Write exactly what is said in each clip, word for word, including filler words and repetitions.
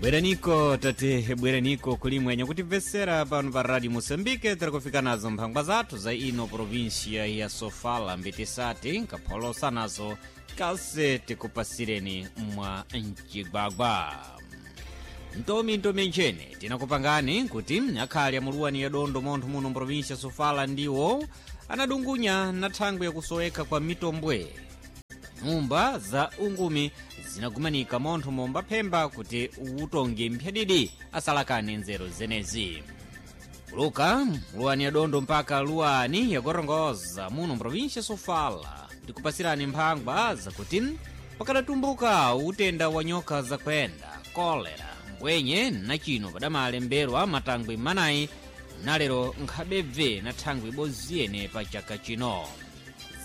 Bweraniko tate, bweraniko kulimwenya kutimvesera pano pa Radio Moçambique. Tiri kufika nazo mphangwa zathu za ino província ya Sofala, mbitisati nkapholosa nazo kase tikupasireni mwa mcigwagwa. Ntomi ntomi nchene tinakupangani kuti akhali amuluwani ya dondo montho muno mprovinsia Sofala ndiwo anadungunya na thangwi yakusoweka kwa mitombwe. Nyumba za ungumi zinagumanika montho momba phemba kuti utonge mphyadidi asalakane nzeru zenezi. Kuluka luwani ya dondo mpaka luwani yagorongoza muno mprovinsia Sofala, ndikupasirani mphangwa zakuti pakadatumbuka utenda wa nyoka zakwenda kolera mbwenye na chino padamalemberwa matangwi manayi nalero nkhabebve na thangwi ibodzi pa chaka chino.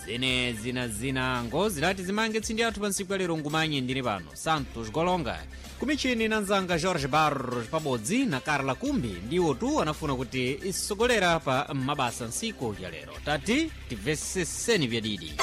Zene zina zinango zilati zimange tsindi athu pa ntsiku ya lero. Ngumanye ndine pano Santos Golonga, kumichini na nzanga Jorge Barros pabodzi na Carla Kumbi ndiwo tu anafuna kuti isogolera pa mabasa ntsiku ya lero. Tati timveseseni vyadidi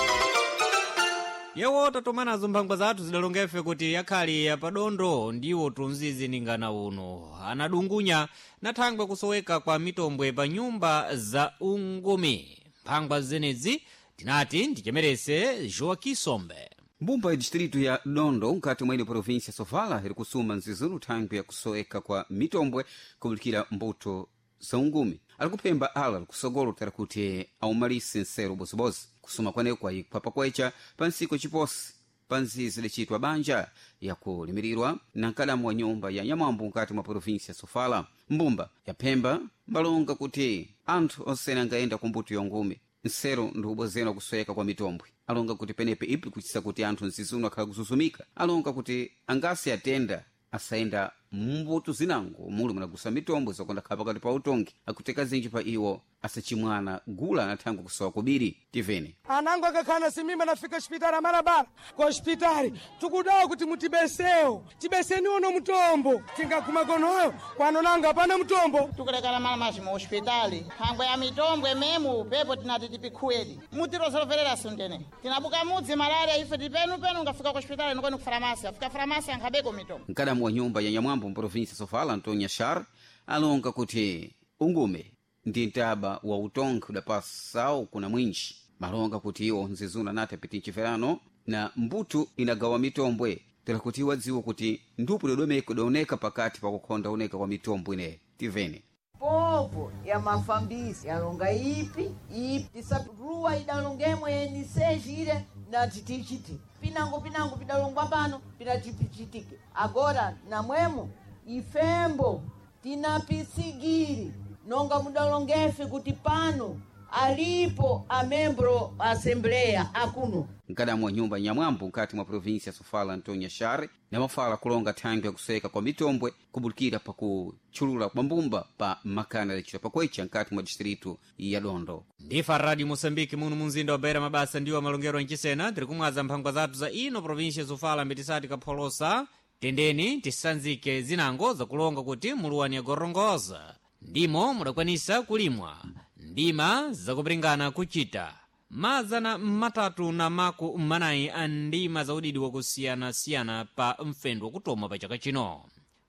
yewo tatomanazo mphangwa zathu zidalongefe kuti yakhali yapadondo ndiwo tunzizi ningana uno anadungunya na thangwe kusoweka kwa mitombwe pa nyumba za ungumi. Mphangwa zenezi tinati ndichemerese Joaquim Sombe. Mbumba ya distrito ya Dondo nkati mwa ino província Sofala iri kusuma nzizunu thangwi ya kusoweka kwa mitombwe kubulikira mbuto za ungumi. Ali kuphemba ala likusogolo tera kuti aumalise nsero bozibozi. Kusuma kweneko kwayikwa pakwecha pa ntsiku ciposi pa nzizi licitwa banja yakulimirirwa na nkadamu wa nyumba ya nyamwambo nkati mwa província Sofala. Mbumba yaphemba mbalonga kuti anthu onsene angayenda ku mbuto ya ungumi nsero ndi ubozera kusweka kwa mitombwe. Alonga kuti penepe ipi kuchisa kuti anthu nzizuno akhala kuzuzumika. Alonga kuti angasi atenda asayenda mumbuto zinango muli munagusa mitombo zakonda khala pakati pa utongi akuteka zinji pa iwo asachimwana gula na thangwi kusowa kubiri. Tivene anango akakhala simimba nafika hospitali amarabala ku hospitali tikudawa kuti mutibesewo, tibeseni uno mutombo tingaguma konoyo kwano nanga pana mutombo. Tikulekana malamazi mu hospitali phangwe ya mitombwe memu pepo tinati tipikhuwedi mutirozoverera sundene tinabuka mudzi malaria ife tipenupenu ngafika ku hospitali nikoni ku faramasi afika faramasi ankhabeko mitombo. Mkadamu wa nyumba ya nyamwambo mprovinsia Sofala Antonio Shar alonga kuti ungume ndi mtaba wa utongi udapasawo kuna mwinji. Malonga kuti iwo nzizuna nati apiti mchiferano na mbuto inagawa mitombwe tera kuti iwo adziwe kuti ndupu dodomeka idaoneka pakati pakukhonda oneka kwa mitombwe ineyi. Tivene povo ya mafambisi yalonga ipi ipi tisaruwa idalongemwe yenisejire nati tichiti pinango pinango pidalongwa pano pinatipichitike agora namwemo ifembo tinapisigiri nonga mudalongefe kuti pano alipo amembro assembleya akuno. Mkadamu wa nyumba nyamwambo nkati mwa província Sofala Antonio Share namafala kulonga thangwi yakusweka kwa mitombwe kubulikira pakutchulula kwa mbumba pa makana yacitwa pakwecha nkati mwa distrito ya Dondo. Ndifa Radio Moçambique muno munzinda wa Beira mabasa ndiwo amalongero anchisena. Tiri kumwaza mphangwa zathu za ino província Sofala mbitisati kapholosa. Tendeni tisanzike zinango zakulonga kuti muluwani yagorongoza ndimo mudakwanisa kulimwa ndima zakupiringana kuchita mazana matatu na maku manayi a ndima za udidi wakusiyanasiyana pa mfendo wakutoma pa chaka chino.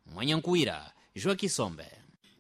Mwanyankuwira Joaquim Sombe.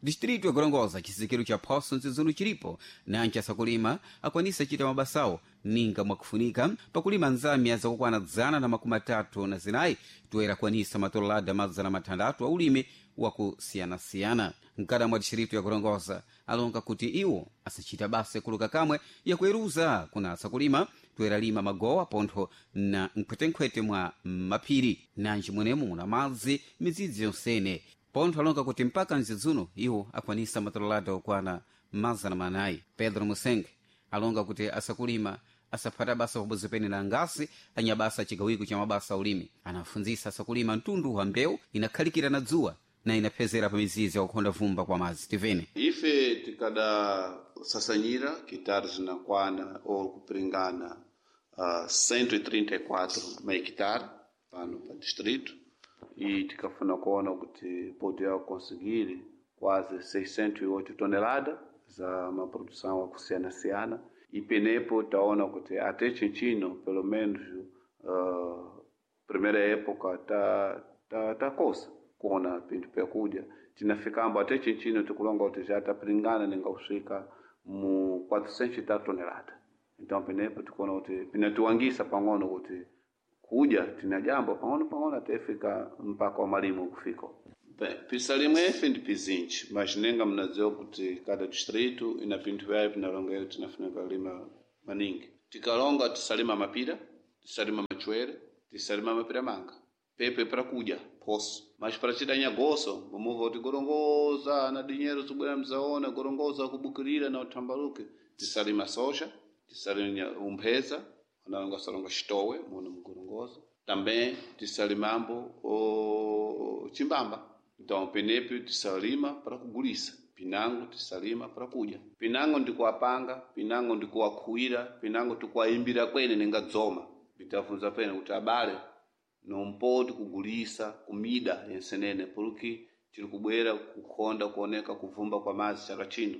Distrito ya Gorongosa chizikiro cha phoso nzizuno chilipo nanchi asakulima akwanisa chita mabasawo ninga mwakufunika pakulima nzamya zakukwana dzana na makumi atatu na zinayi toera kwanisa matololada mazana mathandathu a ulimi wakusiyanasiyana. Mkadamu wa distrito ya Gorongosa alonga kuti iwo asachita basa yakuluka kamwe yakueruza kuna asakulima toera lima magowa pontho na nkhwetenkhwete mwa maphiri nanji mwenemo muna madzi midzidzi yonsene. Pontho alonga kuti mpaka mzidzuno iwo akwanisa matololada okwana mazana manayi. Pedro Musenge alonga kuti asakulima asaphata basa pabodzi pene na angasi anyabasa chigawiko cha mabasa a ulimi. Anafunzisa asakulima mtundu wa mbewu inakhalikira na dzuwa na inaphezera pa mizizi yakukhonda vumba kwa madzi. Tivene ife tikadasasanyira kitari zinakwana ou kupiringana uh, cento e trinta e quatro mahectare pano pa distrito e tikafuna kuona kuti podia conseguir quase seiscentas e oito toneladas za uma produção akusiyana-siyana e penepo taona kuti até chinchino pelo menos uh, primeira época ta ta, ta kosa. kuona pinthu pyakudya tinafikambo ate chinchino tikulonga kuti já tapiringana ninga kusvika mu quatrocentos tonelada. Então penepo tikuona kuti pinatiwangisa pang'ono kuti kudya tina jambo pang'ono pang'ono atefika mpaka wa malimo kufika. Bem, pisalimwe efe ndi pizinji, mas nenga mnadziwa kuti cada distrito ina pinthu vyayo pinalongera tinafunika lima maningi. Tikalonga tisalima mapira, tisalima machwere, tisalima mapira manga. Pepe para kudya poso, mas para chidanya goso mumuva kuti gorongoza na dinheiro zibwera mzaona gorongoza kubukirira na utambaluke. Tisalima soja, tisalima umpheza, analonga salonga chitowe muno mugorongoza. Também tisalimambo o chimbamba. Então penepo tisalima para kugulisa, pinango tisalima para kudya. Pinango ndikuwapanga, pinango ndikuwakhuwira, pinango tikuwayimbira kwene ninga dzoma. Bitafunza pene kuti abale nompoti kugulisa kumida yensenene porque tiri kubwera kukhonda kuoneka kuvumba kwa mazi chaka chino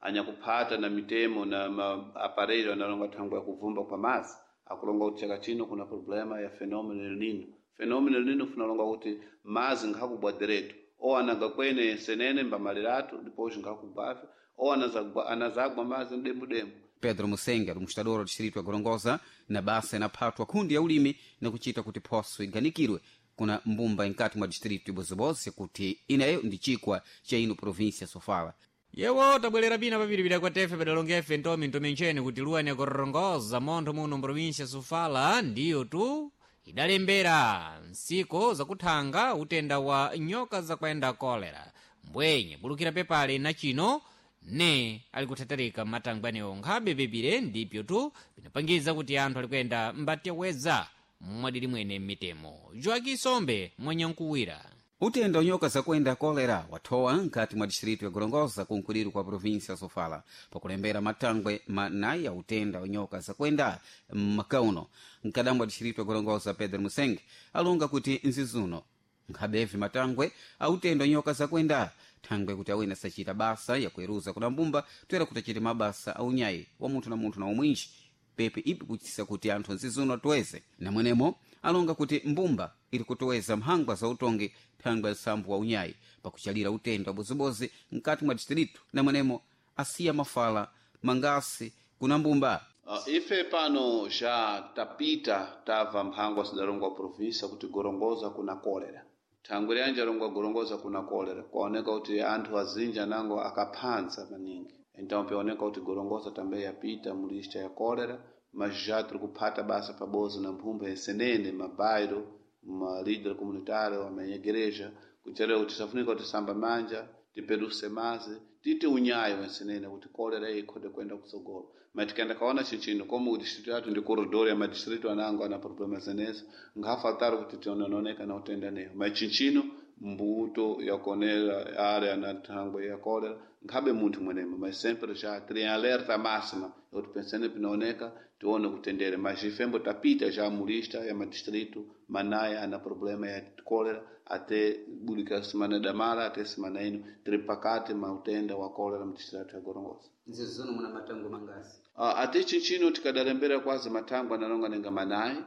anyakuphata na mitemo na maaparelho analonga thangwe ya kuvumba kwa mazi akulonga kuti chaka chino kuna problema ya fenômeno El Nino. Fenômeno El Nino funalonga kuti mazi nkhakubwa direto ou anaga kwene yensenene mbamaliratu depois nkhakubwave ou anazagwa, anazagwa mazi mdembudembu. Pedro Musenga administrador wa distrito ya Gorongosa na basa inaphatwa kundi ya ulimi na kuchita kuti phoso iganikirwe kuna mbumba inkati mwa distrito ibozibozi kuti ineyo ndi chikwa cha ino província Sofala. Yewo tabwerera pina papiripira kwa tefe padalonga efe ntomi ntomi kuti luwani yakorongoza montho muno mprovinsia Sofala ndiyo tu idalembera nsiko zakuthanga utenda wa nyoka zakwenda kolera mbwenye bulukira pepale na chino ne ali kuthatarika matangwanewo nkhabe pepire ndipyo tu pinapangiza kuti anthu ali kuyenda mbateweza mwadili mwene mmitemo. Joaki Sombe mwanyankuwira. Utenda nyoka zakuenda kolera wathowa nkati mwa distrito ya Gorongosa kunkuliro kwa província Sofala pakulembera matangwe manayi ya utenda wa nyoka zakuenda mmakauno. Mkadambo wa distrito ya Gorongosa Pedro Musenge alonga kuti nzizuno nkhabevi matangwe autenda nyoka zakuenda thangwe kuti awene sachita basa yakueruza kuna mbumba toera kuti achite mabasa aunyayi wa munthu na munthu na umwinji pepe ipi kuchitisa kuti anthu nzizuno atoeze namwenemo alonga kuti mbumba ili kutoweza mphangwa za utongi thangwe nsambu wa unyayi pakuchalira utenda wabozibozi mkati mwa distrito namwenemo asiya mafala mangasi kuna mbumba. Uh, ife pano já tapita tava mphangwa sidalongwa província kuti gorongoza kuna kolera. Thangwe lyanje alongwa gorongoza kuna kolera kwaoneka kuti anthu azinji anango akaphanza maningi, então pioneka kuti gorongoza também yapita mu lista ya kolera, mas já tiri kuphata basa pabozi na mphumba yensenene mabairo ma líder comunitário a igreja kucherera kuti tisafunika kuti tisamba manja tipeduse mazi titi unyayo wensenene kuti kolera iyi ikhode kuenda kutsogolo. Mas tikaenda kaona chinchino como o distrito yathu ndi corredor ya madistrito anango ana problema zenezo nkhafatari kuti tiononeka na utenda neyo. Mas chinchino mbuto ya konera área na thangwe ya kolera nkhabe munthu mwenemo, mas sempre já tiri em alerta máxima kuti pensene pinaoneka tione kutendere. Mas ifembo tapita já mulista ya madistrito manaya ana problema ya kolera até bulika semana damala até semana ino tiri pakati ma utenda wa kolera mu distrito ya Gorongosa. Nzizuno muna matango mangasi Uh, ate chinchino tikadalembera kwazi matangwe analonga nenga manayi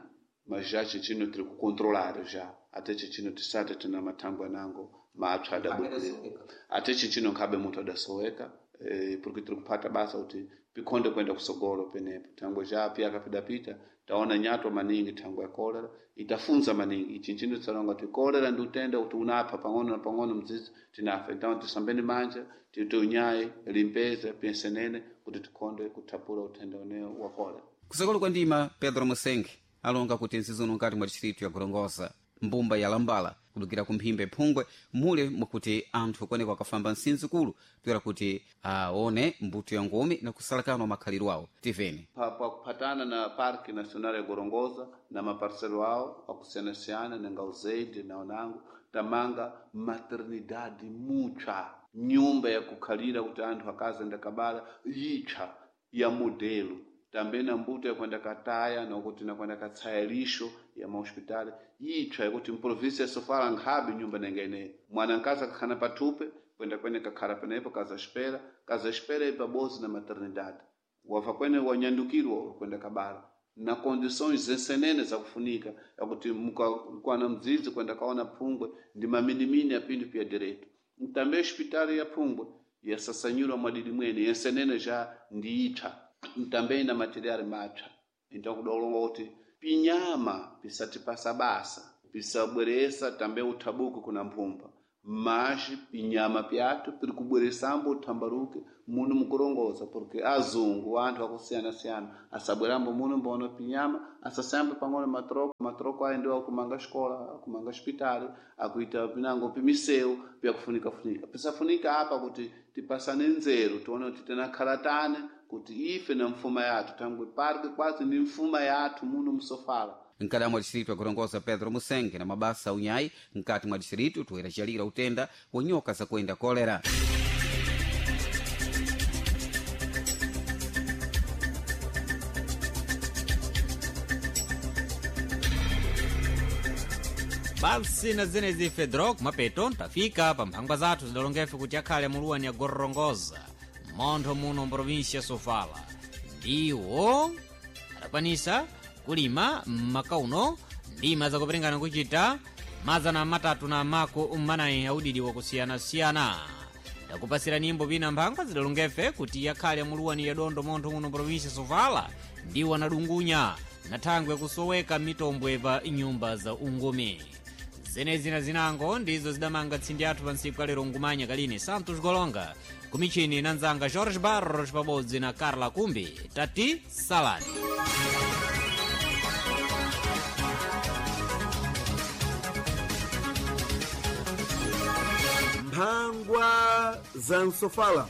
mas já chinchino tiri kucontrolar já ate chinchino tisate tina matangwe anango mapsa adabukira ate chinchino nkhabe munthu adasoweka eh, porque tiri kuphata basa kuti pikhonde kuenda kusogolo penepo thangwe já piyaka pidapita taona nyatwa maningi thangwe ya kolera itafunza maningi ichi nchino tisalonga kuti kolera ndi utenda kuti unapha pang'ono na pang'ono mdzidzi tinafa. Então tisambeni manja tiite unyayi limpeze piensenene kuti tikhonde kuthapula utenda unewo wa kolera. Kusakolo kwa ndima Pedro Musenge alonga kuti nzizuno nkati mwa distrito ya Gorongosa mbumba ya Lambala kudukira kumphimbe phungwe mule mwakuti anthu kuoneka akafamba nsinzikulu toera kuti aone mbuto ya ngumi na kusalakana makhaliro awo tiveni pa, pa kuphatana na Parque Nacional ya Gorongosa na maparcelo awo akusiyana-siyana nenga uzeide na onango tamanga maternidade mutcha nyumba yakukhalira kuti anthu akazenda kabala yitcha ya modelo também na mbuto yakwenda kataya nokuti nakwenda katsaya lixo ya mahospitali yitcha yakuti mprovinsia ya Sofala nkhabe nyumba nenga ineyo mwana nkazi akakhana pathupe kwenda kwene kakhala penepo kaza espera kaza espera ipabozi na maternidade wava kwene wanyandukirwa kwenda kabala Na condições zensenene zakufunika yakuti mukakwana mdzidzi kwenda kaona Phungwe ndi maminimini apindu pya direito. Ntambe hospitali ya Phungwe yasasanyulwa mwadidi mwene yensenene já ndi ipsa, ntambe ina materiali mapsa. Então kudolonga kuti pinyama pisatipasa basa pisabweresa tambe uthabuko kuna mphumba, mas pinyama pyathu piri kubweresambo uthambaruke muno mukurongoza, porque azungu anthu akusiyana-siyana asabwerambo muno mbono pinyama asasambe pang'ono matroko matroko ayi ndiwo akumanga xikola, akumanga xipitali, akuita pinango pimisewu pyakufunika-funika pisafunika apa kuti tipasane nzeru tione kuti tinakhalatane kuti ife na mfuma yathu thangwe parke quase ndi mfuma yathu muno msofala. Mkada mwa distrito akurongoza Pedro Musenge na mabasa a unyayi mkati mwa distrito toera chalira utenda wa nyoka zakuenda kolera. Basi na zenezi Fedro kumapeto tafika pa mphangwa zathu zidalongefe kuti akhale muluwani ya Gorongoza montho muno mprovinsia ya Sofala ndiwo adakwanisa kulima mmakauno ndima zakuperingana kuchita mazana matatu na mako mmanayi audidi wakusiyanasiyana. Ndakupasira nyimbo pina mphangwa zidalongefe kuti yakhale muluwani ya dondo montho muno mprovinsia ya Sofala ndiwo anadungunya na thangwe kusoweka mitombwe pa nyumba za ungumi. Zenezi na zinango ndizo zidamanga tsindi athu pa ntsiku kalero ngumanya kalini Santos Golonga kumichini na nzanga George Barros pabodzi na Carla Kumbi. Tati salani. Mphangwa za Msofala.